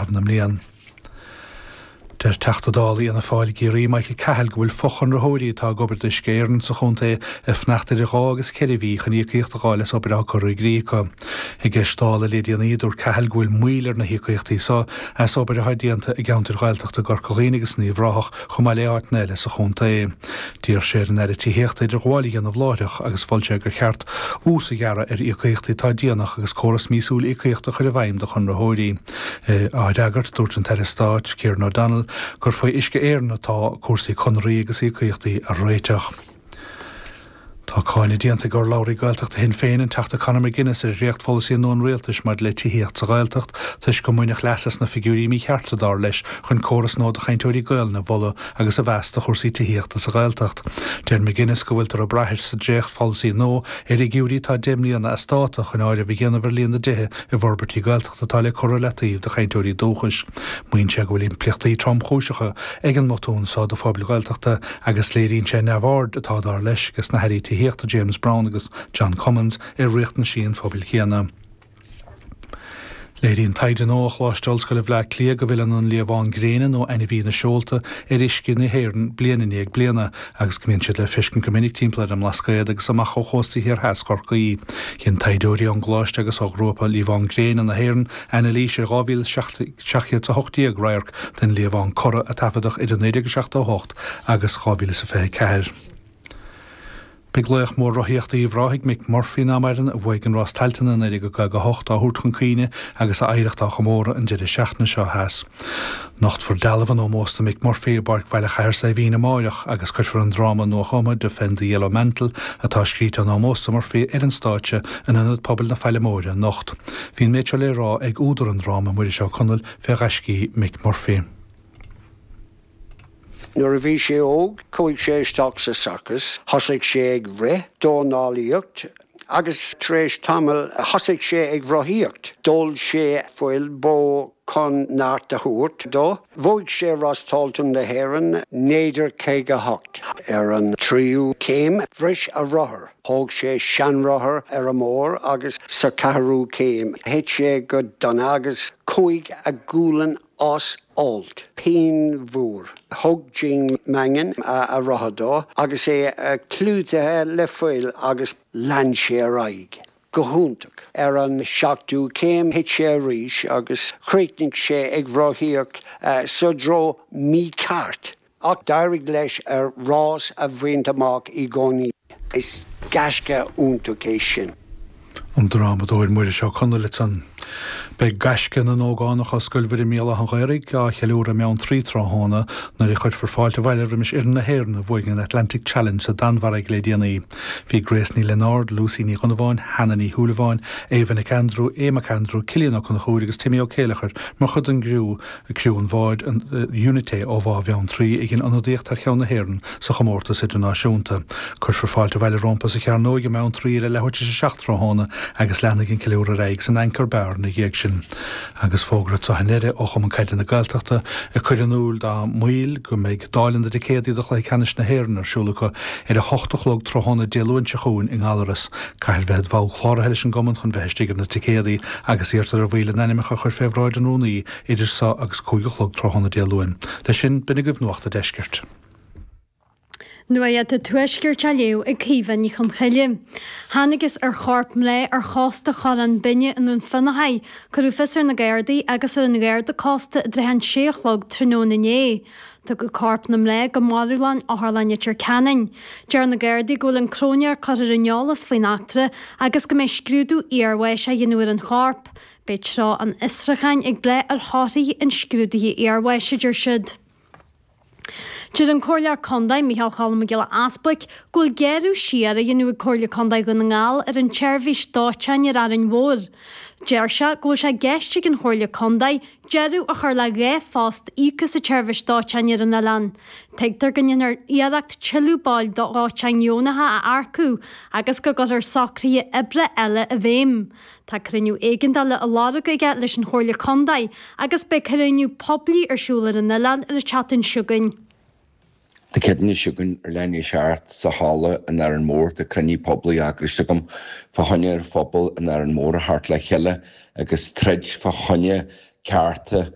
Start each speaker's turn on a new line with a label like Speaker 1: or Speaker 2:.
Speaker 1: chaitheamh na mblian. Deir Teachta Dála Fhianna Fáil i gCiarraí, Michael Cahill, go bhfuil fochonraitheoirí atá ag obair d'Uisce Éireann sa chontae ag fanacht idir 2 agus 4 mhí chun íocaíocht a dh'fháil as obair atá curtha i gcrích acu. I gceist Dála le déanaí, dúirt Cahill go bhfuil moill ar na híocaíochtaí so as obair atá déanta i gceantair Ghaeltachta i gCorca Dhuibhne agus in Uíbh Ráthach chomh maith le áiteanna eile sa chontae. D'iarr sé ar an Aire Tithíochta idirghabháil a dhéanamh láithreach agus mhol sé gur cheart ús a ghearradh ar íocaíochtaí atá déanach agus córas míosúil íocaíochta a chur i bhfeidhm do chonraitheoirí. Á fhreagairt, dúirt an tAire Stáit, Kieran O'Donnell, gur faoi Uisce Éireann atá cúrsaí conarthaí agus íocaíochtaí a réiteach. Tá cáineadh déanta ag urlabhraí Gaeltachta Shinn Féin, an Teachta Conor McGuinness, ar dhréachtpholasaí nua an Rialtais maidir le tithíocht sa Ghaeltacht toisc go mbaineadh leas as na figiúirí míchearta, dar leis, chun córas nua do chainteoirí Gaelainne a mholadh agus a mheas do chúrsaí tithíochta sa Ghaeltacht. Deir McGuinness go bhfuiltear ag brath sa dréachtpholasaí nua ar fhigiúirí atá 10 mbliana as dáta chun áireamh a dhéanamh ar líon na dtithe i bhforbairtí Gaeltachta atá le cur ar leataobh do chainteoirí dúchais. Maíonn sé go bhfuil impleachtaí tromchúiseacha ag an mbotún so do phobail Ghaeltachta agus léiríonn sé neamhaird atá, dar leis, ages na hAirí Tithíochta James Browne agus John Cummins ar riachtanaisí an phobail chéanna. Léiríonn taighde nua ó Choláiste Ollscoile Bhaile Átha Cliath go bhfilleann an liamhán gréine nó ainmhí na seolta ar uisce na hÉireann bliain i ndiaidh bliana agus go mbíonn siad le feiscint go minic timpeall ar an mBlascaod agus amach ó chósta thiar theas Chorcaí. Dhein taighdeoirí ón gcoláiste agus ó Ghrúpa Liamhán Gréine na hÉireann anailís ar 2,718 radharc den liamhán corra a taifeadadh idir 1978 agus 2024. Beidh laoch mór rothaíochta Uíbh Ráthaigh, Mick Murphy ná maireann, a bhuaigh an Rás Tailteann i 1958, á thabhairt chun cuimhne agus a oidhreacht á chomóradh an deireadh seachtaine seo theas. Nochtfar dealbh in ómós do Mick Murphy i bPáirc Bhaile Chathair Saidhbhín amáireach agus cuirfear an dráma nuachumtha Defend the Yellow Mantle, atá scríte in ómós do Murphy, ar an stáitse in Ionad Pobail na Faille Móire anocht. Bhí an méid seo le rá ag údar an dráma, Muiris Ó Conaill, fé ghaiscí Mick Murphy.
Speaker 2: Nuair a bhí sé óg, chuaigh sé isteach sa sorcas, thosaigh sé ag rith, dornálaíocht agus tar éis tamaill thosaigh sé ag rothaíocht. D'ól sé fuil bó chun neart a thabhairt dó. Bhuaigh sé Rás Tailteann na hÉireann 1958. Ar an tríú céim, bhris a rothar. Thóg sé seanrothar ar an mbóthar agus sa cheathrú céim, thit sé go dona agus chuaigh a ghualainn as alt. Pian mhór. Thug Gene Mangan a rothar dó agus é clúdaithe le fuil agus lean sé ar aghaidh. Go hiontach. Ar an seachtú céim thit sé arís agus chríochnaigh sé ag rothaíocht sa dtreo mícheart. Ach d'éirigh leis a rás a bhaint amach i gcónaí. Is gaisce iontach é sin.
Speaker 1: An drámadóir Muiris Ó Conaill ansan. Beidh gaisce na n-ógánach ó Scoil Mhuire Míol Átha an Ghaorthaidh á cheiliúradh i mBeanntraí tráthnóna nuair a chuirfear fáilte abhaile roimis fhoireann na hÉireann a bhuaigh an Atlantic Challenge sa Danmhairg le déanaí. Bhí Grace Ní Lionáird, Lucy Ní Dhonnabháin, Hannah Ní Shúilleabháin, Ava Nic Aindriú, Aodh Mac Aindriú, Cillian Ó Conchúir agus Timmy Ó Céileachair mar chuid den gcriú Criú an bháid Unité ó Bhá Bheanntraí a dhein ionadaíocht thar cheann na hÉireann sa chomórtas idirnáisiúnta. Cuirfear fáilte abhaile rompu sa Chearnóig i mBeanntraí ar a leathuair tar éis a 7 tráthnóna agus leanfaidh an ceiliúradh ar aghaidh san Anchor Bar ina dhiaidh sin. Agus fógra anseo i ndeireadh ó Chumann Caide na Gaeltachta ag cur in iúl dá mbaill go mbeidh dáileadh na dticéadaí do Chluiche Ceannais na hÉireann ar siúl acu ar a hocht a chlog tráthnóna Dé Luain seo chugainn i nGallaras. Caithfear bheith id bhall cláraithe leis an gcumann chun bheith istigh ar na ticéadaí agus iarrtar ar bhaill a n-ainmneacha a chur fé bhráid an rúnaí idir so agus 5 a chlog tráthnóna Dé Luain. Leis sin, b'in agaibh Nuacht a' Deiscirt.
Speaker 3: Nuacht a' Tuaiscirt á léamh ag Caoimhe Ní Chonchoille. Thángthas ar chorp mná ar chósta Chorrán Binne i nDún Fionnachaidh. Cuireadh fios ar na Gardaí agus ar an Gharda Cósta i dtrátha an sé a chlog tráthnóna inné. Tugadh corp na mná go marbhlann Otharlann Leitir Ceanainn. Deir na Gardaí go bhfuil an cróinéir curtha ar an eolas faoin eachtra agus go mbeidh scrúdú iarbháis á dhéanamh ar an chorp. Beidh treo an fhiosrúcháin ag brath ar thorthaí an scrúdaithe iarbháis, a deir siad. Deir an Comhairleoir Contae, Micheál Cholm Mac Giolla Easbuic, go bhfuil gearradh siar á dhéanamh ag Comhairle Contae Dhún na nGall ar an tseirbhís dóiteáin ar Árainn Mhór. Deir sé go bhfuil sé i gceist ag an Chomhairle Contae deireadh a chur le 2 phost íoctha sa tseirbhís dóiteáin ar an oileán. Tuigtear go ndéanfar iarracht tuilleadh baill dóiteáin dheonacha a earcú agus go gcuirfear socruithe oibre eile i bhfeidhm. Tá cruinniú éigeandála á lorg aige leis an Chomhairle Contae agus beidh cruinniú poiblí ar siúl ar an oileán ar an tseachtain seo chugainn.
Speaker 4: Dé Céadaoine seo chugainn ar leath i ndiaidh a 7 sa halla in Árainn Mhór tá cruinniú poiblí eagraithe agam fá choinne ar phobal in Árainn Mhór a theacht le chéile agus troid fá choinne cearta.